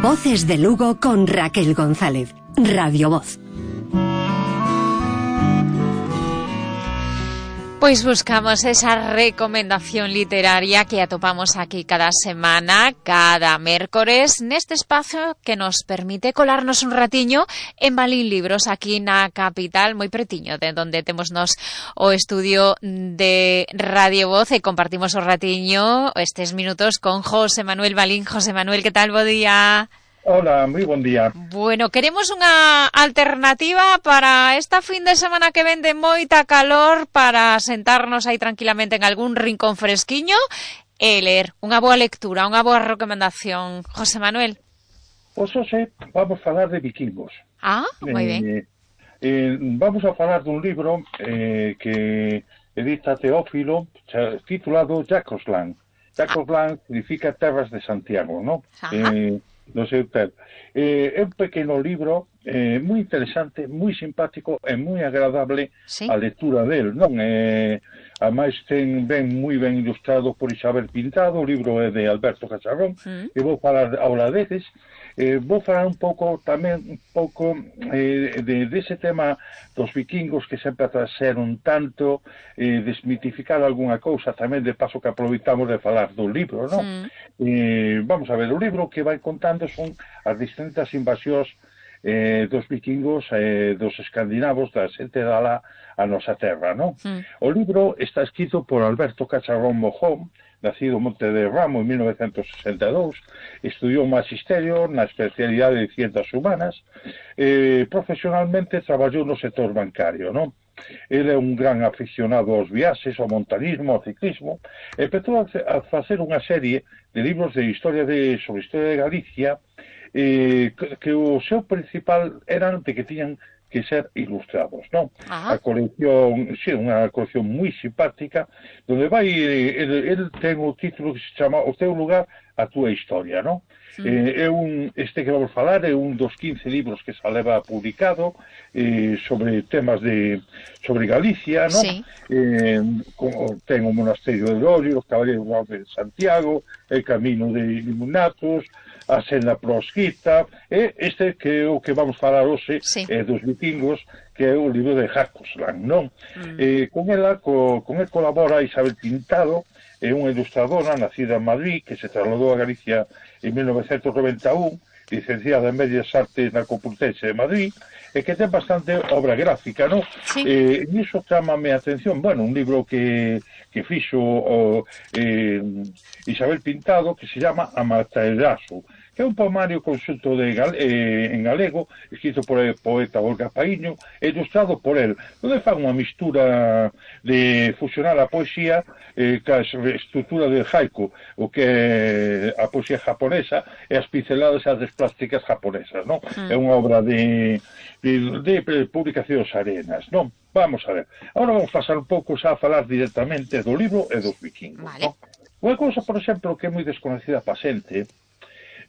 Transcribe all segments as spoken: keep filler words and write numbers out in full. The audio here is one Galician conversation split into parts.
Voces de Lugo con Raquel González. Radio Voz. Pois buscamos esa recomendación literaria que atopamos aquí cada semana, cada mércores, neste espazo que nos permite colarnos un ratiño en Balín Libros, aquí na capital, moi pretiño, de donde temos nos o estudio de Radio Voz, e compartimos o ratiño estes minutos con José Manuel Balín. José Manuel, que tal? Bo día. Hola, moi bon día. Bueno, queremos unha alternativa para esta fin de semana que ven de moita calor, para sentarnos aí tranquilamente en algún rincón fresquiño e ler. Unha boa lectura, unha boa recomendación. José Manuel. Pois hoxe vamos falar de vikingos. Ah, moi ben. Eh, eh, vamos a falar dun libro eh, que edita Teófilo, titulado Jacosland. Jacosland ah. significa Terras de Santiago, ¿no? Eh, no sei tal. Eh, é un pequeno libro eh, moi interesante, moi simpático e moi agradable, ¿sí?, a lectura del, non? Eh, ademais ten ben moi ben ilustrado por Isabel Pintado, o libro é de Alberto Cacharrón, mm. e vou falar ahora deles. Eh, vou falar un pouco tamén un pouco eh, de, de ese tema dos vikingos, que sempre a ser un tanto eh, desmitificar algunha cousa, tamén de paso que aproveitamos de falar do libro, non? Mm. Eh, vamos a ver, o libro que vai contando son as distintas invasións eh, dos vikingos, eh, dos escandinavos, da xente da la a nosa terra, non? Mm. O libro está escrito por Alberto Cacharrón Mojón, nacido en Monte de Ramo en mil novecientos sesenta e dous, estudiou magisterio na especialidade de Ciencias Humanas, eh, profesionalmente traballou no sector bancario, non? Ele é un gran aficionado aos viaxes, ao montanismo, ao ciclismo, e empezou a facer unha serie de libros de historia de, sobre historia de Galicia, eh, que, que o seu principal eran de que tiñan que ser ilustrados, non? A colección, sí, unha colección moi simpática, donde vai, el, el ten o título que se chama O teu lugar, a túa historia, non? Sí. Eh, é un, este que vamos falar é un dos quince libros que se leva publicado eh, sobre temas de, sobre Galicia, non? Sí. Eh, como ten o Monasterio de Lorio, os Caballeros de Santiago, el Camino de Illuminatos, a Senda Proscrita, e este que é o que vamos falar hoxe, sí, é dos vikingos, que é o libro de Jacosland, non? Mm. Eh, con ela, co, con el colabora Isabel Pintado, é unha ilustradora nacida en Madrid, que se trasladou a Galicia en mil novecientos noventa e un, licenciada en Bellas Artes na Complutense de Madrid, e que ten bastante obra gráfica, non? Sí. Eh, e iso chamame a atención, bueno, un libro que, que fixo o, eh, Isabel Pintado, que se llama Amaterasu, que é un poemario conxunto de, eh, en galego, escrito por el poeta Olga Paíño, e ilustrado por el, onde fan unha mistura de fusionar a poesía eh, ca estrutura del haiku, o que é a poesía japonesa, e as pinceladas e as plásticas japonesas, non? Mm. É unha obra de, de, de, de publicacións arenas, non? Vamos a ver. Agora vamos pasar un pouco xa a falar directamente do libro e dos vikingos, vale, non? Unha cousa, por exemplo, que é moi desconocida pa xente,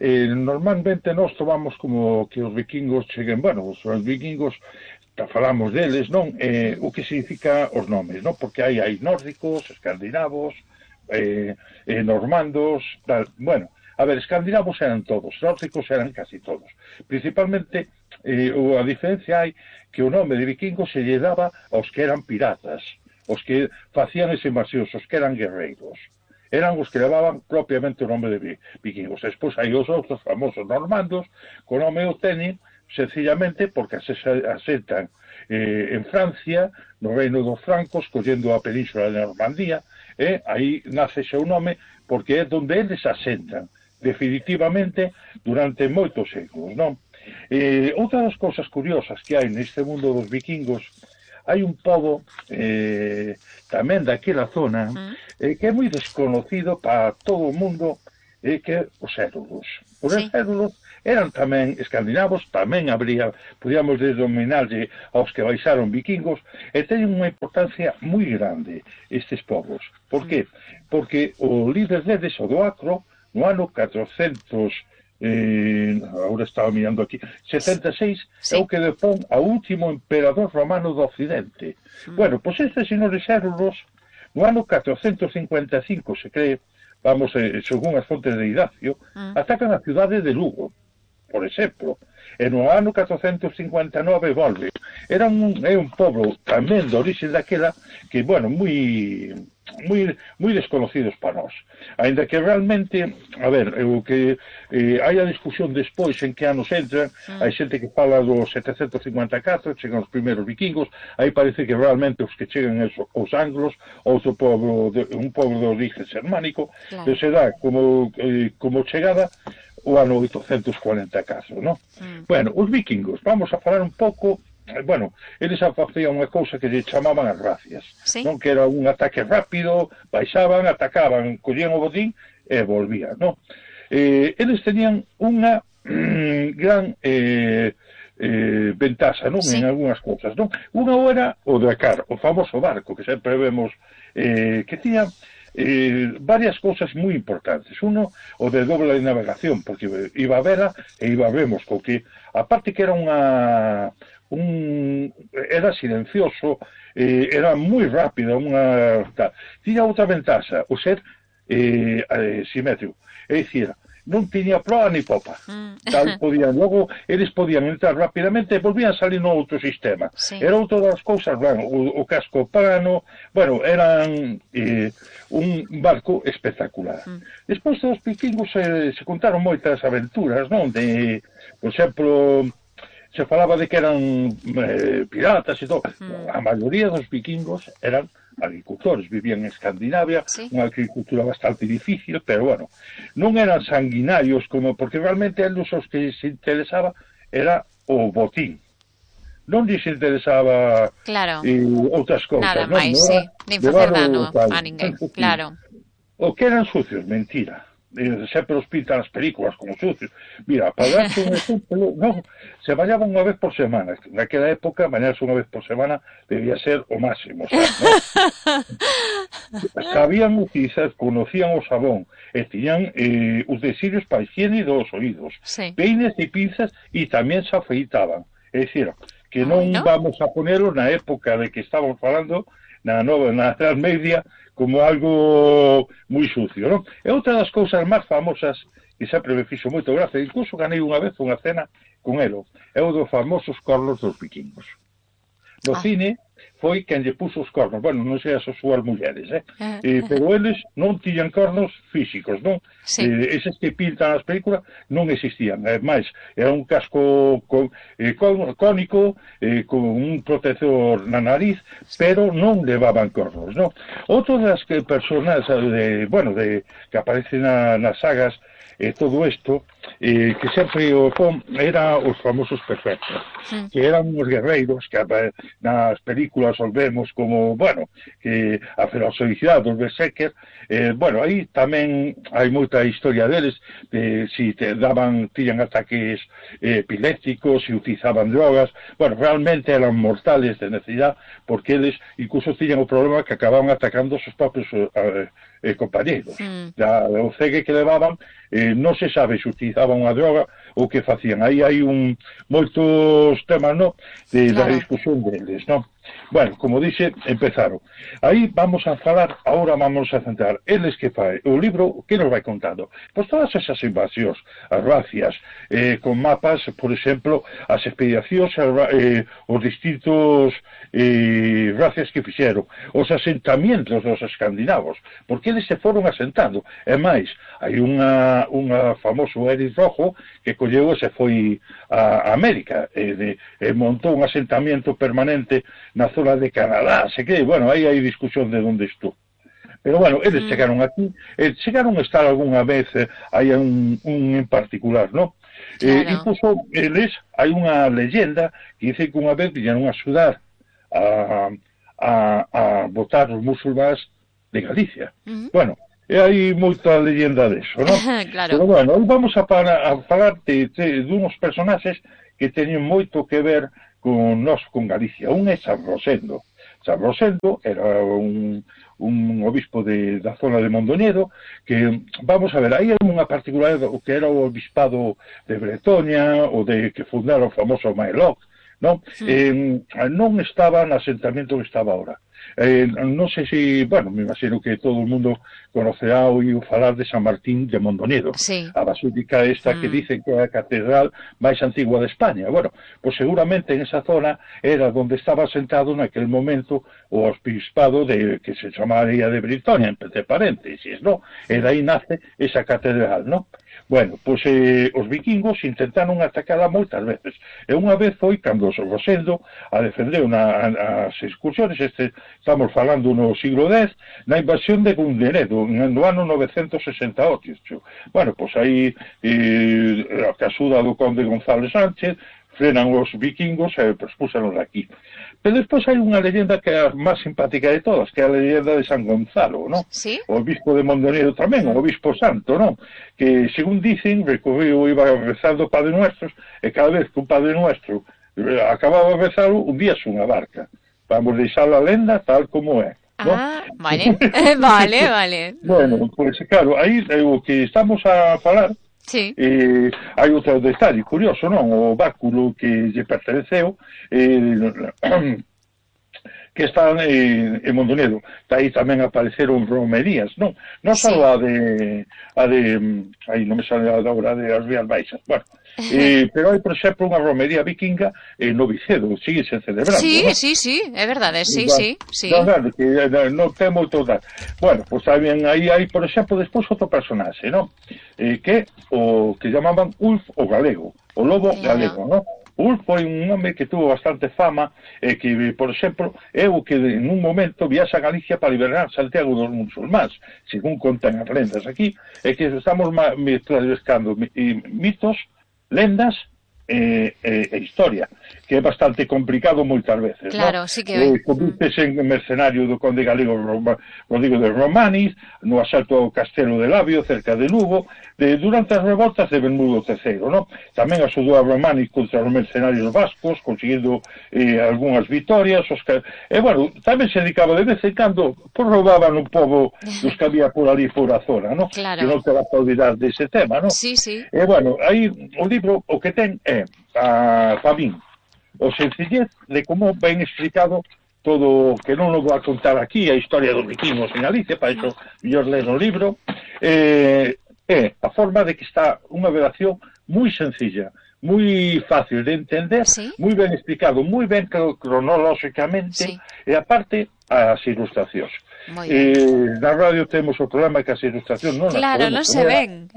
Eh, normalmente nós tomamos como que os vikingos cheguen, bueno, os, os vikingos falamos deles, non? Eh, o que significa os nomes, non? Porque hai, hai nórdicos, escandinavos, eh, eh, normandos, tal. Bueno, a ver, escandinavos eran todos, nórdicos eran casi todos. Principalmente, eh, a diferencia hai que o nome de vikingos se lle daba aos que eran piratas, os que facían ese invasións, os que eran guerreiros. Eran os que levaban propiamente o nome de vikingos. Despois hai os outros famosos normandos, co nome o teñen sencillamente porque asentan eh, en Francia, no reino dos francos, collendo a península de Normandía, e eh, aí nace seu nome porque é donde eles asentan definitivamente durante moitos séculos, non? Eh, outra das cousas curiosas que hai neste mundo dos vikingos, hai un pobo eh, tamén daquela zona eh, que é moi desconocido para todo o mundo, eh, que é os érulos. Os sí. érulos eran tamén escandinavos, tamén habría, podíamos denominarlle aos que baixaron vikingos, e teñen unha importancia moi grande estes povos. Por que? Porque o líder deles, o do Acro, no ano catrocentos, eh, agora estaba mirando aquí, setenta e seis, sí, é o que depón ao último emperador romano do Occidente. Mm. Bueno, pois estes senhores érulos, no ano catrocentos cincuenta e cinco, se cree, vamos, eh, según as fontes de Idacio, mm. atacan a cidade de Lugo. por exemplo. E no ano catrocentos cincuenta e nove volve. Era un, é un pobo tamén de orixe daquela que, bueno, moi moi moi desconocidos para nós. Ainda que realmente, a ver, o que eh, hai a discusión despois en que anos entran, mm. hai xente que fala do setecentos cincuenta e catro, chegan os primeiros vikingos, aí parece que realmente os que chegan es os anglos, outro pobo, de, un pobo de origen germánico, claro. Que se dá como, eh, como chegada o ano oitocentos cuarenta e catro, non? Mm. Bueno, os vikingos, vamos a falar un pouco, bueno, eles facían unha cousa que lle chamaban as racias, ¿sí? Non? Que era un ataque rápido, baixaban, atacaban, collían o botín e volvían, non? Eh, eles tenían unha mm, gran eh, eh, ventaxa, non? Sí. En algunhas cousas, non? Unha era o Dakar, o famoso barco que sempre vemos eh, que tiña Eh, varias cousas moi importantes. Uno, o de doble navegación, porque iba a vela e iba a vemos, porque aparte que era unha un era silencioso, eh, era moi rápida, unha tiña outra ventaxa, o ser eh, eh, simétrico, é dicir, non tiña proa ni popa. Mm. Tal podían, logo, eles podían entrar rapidamente e volvían salir no outro sistema. Sí. Era outra das cousas, bueno, o, o casco plano, bueno, eran eh, un barco espectacular. Mm. Despois dos vikingos se, se contaron moitas aventuras, non? De, por exemplo, se falaba de que eran eh, piratas e todo. Mm. A maioría dos vikingos eran agricultores, vivían en Escandinavia, sí. Unha agricultura bastante difícil, pero bueno, non eran sanguinarios, como porque realmente eles os que se interesaba era o botín. Non lles interesaba claro. eh, outras cousas. Nada non? máis, non sí, nin facer dano a ninguén, claro. O que eran sucios, mentira. Eh, sempre os pintan as películas como sucios. Mira, para darte un exemplo, no, se bañaban unha vez por semana. Naquela época, bañarse unha vez por semana debía ser o máximo, sabes, ¿no? Sabían utilizar, conocían o sabón, e tiñan eh, utensilios para higiene dos oídos, sí. Peines e pinzas, e tamén se afeitaban. É dicir, que non ¿no? Vamos a ponerlo na época de que estamos falando, na nova, na Edad Media, como algo moi sucio, non? E outra das cousas máis famosas que sempre me fixo moito gracia, incluso ganei unha vez unha cena con elo, é o dos famosos cornos dos vikingos. No ah. cine foi quen lle puso os cornos, bueno, non sei as súas mulleres, eh? Uh, eh pero eles non tiñan cornos físicos, non? Sí. Eh, eses que pintan as películas non existían, é máis, era un casco con, eh, con, cónico, eh, con un protector na nariz, pero non levaban cornos, non? Outro das que personas, de, bueno, de, que aparecen na, nas sagas, e todo isto, eh, que sempre o pon era os famosos perfectos, sí. Que eran os guerreiros que nas películas os vemos como, bueno, que a ferocidade dos berserkers, eh, bueno, aí tamén hai moita historia deles, de si te daban, tiñan ataques eh, epilépticos, si utilizaban drogas, bueno, realmente eran mortales de necesidade, porque eles incluso tiñan o problema que acababan atacando os seus propios eh, eh, compañeros. Mm. Da, o cegue que levaban, eh, non se sabe se utilizaban unha droga ou que facían. Aí hai un moitos temas, no, de, claro. Da discusión deles, no? Bueno, como dixe, empezaron. Aí vamos a falar, agora vamos a centrar. Eles que fai, o libro, que nos vai contando? Pois todas esas invasións, as racias, eh, con mapas, por exemplo, as expedicións, eh, os distintos eh, racias que fixeron, os asentamientos dos escandinavos, porque eles se foron asentando. E máis, hai unha, unha famoso Eric Rojo que colleu e se foi a América, e, de, e montou un asentamiento permanente na zona de Canadá, se que, bueno, aí hai discusión de onde estou. Pero, bueno, eles mm. chegaron aquí, eh, chegaron a estar algunha vez, eh, hai un, un en particular, ¿no? Claro. Eh, incluso, eles, hai unha leyenda que dice que unha vez viñeron a sudar a, a, a votar os musulmáns de Galicia. Mm. Bueno, e hai moita leyenda deso, ¿no? Claro. Pero, bueno, vamos a, para, a falar de, de, de unos personaxes que teñen moito que ver con nós, con Galicia. Un é San Rosendo. San Rosendo era un, un obispo de, da zona de Mondoñedo, que, vamos a ver, aí hai unha particularidade, o que era o obispado de Bretoña, o de que fundara o famoso Maeloc, non? Sí. Eh, non estaba no asentamiento que estaba ahora. Eh, non sei se, bueno, me imagino que todo o mundo conocerá ou iu falar de San Martín de Mondoñedo, sí. a basílica esta mm. que dicen que é a catedral máis antigua de España. Bueno, pues seguramente en esa zona era donde estaba sentado naquel momento o obispado de, que se chamaría de Britonia, entre paréntesis, ¿no? E aí nace esa catedral, ¿no? Bueno, pois eh, os vikingos intentaron atacala moitas veces. E unha vez foi cando Rosendo a defender una, as excursiones, este, estamos falando no siglo dez, na invasión de Gunderedo, no ano novecentos sesenta e oito. Bueno, pois aí, eh, a casuda do conde González Sánchez, frenan os vikingos e expulsanos aquí. Pero despois hai unha leyenda que é a máis simpática de todas, que é a leyenda de San Gonzalo, ¿no? ¿Sí? O obispo de Mondoñedo tamén, o obispo santo, ¿no? Que, según dicen, recorriu, iba rezando Padre Nuestros, e cada vez que un Padre Nuestro acababa de rezalo, un día unha barca. Vamos deixar a lenda tal como é, ¿no? Ah, vale, vale, vale. Bueno, pois, pues, claro, aí o que estamos a falar. Sí. Eh, hai outro detalle curioso, non? O báculo que lle perteneceu eh, que está eh, en Mondoñedo. Aí tamén apareceron romerías, non? Non só sí. a de a de aí non me sale a hora de as Rías Baixas. Bueno, eh, pero hai, por exemplo, unha romería vikinga en no Vicedo, sigue se celebrando. Sí, ¿no? sí, sí, é verdade, sí, bueno, sí, sí. Non, claro, que non ten moito dar. Bueno, pois pues, tamén aí hai, por exemplo, despois outro personaxe, non? Eh, que o que llamaban Ulf o Galego, o lobo yeah. galego, non? Ulf foi un home que tuvo bastante fama e que, por exemplo, é o que en un momento viaxa a Galicia para liberar Santiago dos musulmáns, según contan as lendas aquí, é que estamos mezclando mitos, lendas e, e, e historia, que é bastante complicado moitas veces, claro, ¿no? Sí que é. Convírtese en mercenario do conde galego Rodrigo de Romanis, no asalto ao castelo de Labio, cerca de Lugo, de, durante as revoltas de Bermudo terceiro, ¿no? Tamén asudou a Romanis contra os mercenarios vascos, conseguindo eh, algunhas vitorias, os que, e, bueno, tamén se dedicaba de vez en cando, pues roubaban un pobo dos que había por ali por a zona, ¿no? Claro. Que non te vas a olvidar dese tema, ¿no? Sí, sí. E, bueno, aí o libro o que ten é, a, para min, o sencillez de como ben explicado todo, que non o vou a contar aquí, a historia dos vikingos en Galicia, para iso mellor ler o libro, eh, é a forma de que está unha redacción moi sencilla, moi fácil de entender, ¿Sí? moi ben explicado, moi ben cronolóxicamente, sí. E aparte as ilustracións. Eh, na radio temos o programa que as ilustracións non claro, non se ven.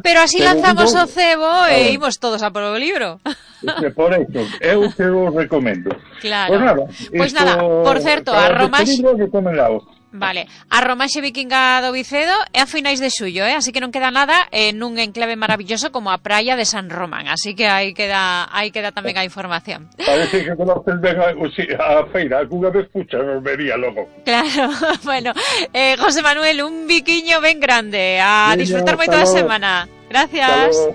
Pero así pero lanzamos digo, o cebo e imos todos a por o libro. Por eso, eu te o recomendo. Claro. Pues nada, pues esto, nada, por certo, a Romaxe... Vale, a Romaxe Vikinga do Vicedo é a finais de xullo, eh? Así que non queda nada en un enclave maravilloso como a praia de San Román, así que aí queda aí queda tamén a información. Parece que conoces ben a, o si, a feira, alguna vez pucha nos vería logo. Claro, bueno, eh, José Manuel, un biquiño ben grande, a disfrutar moito da semana. Gracias.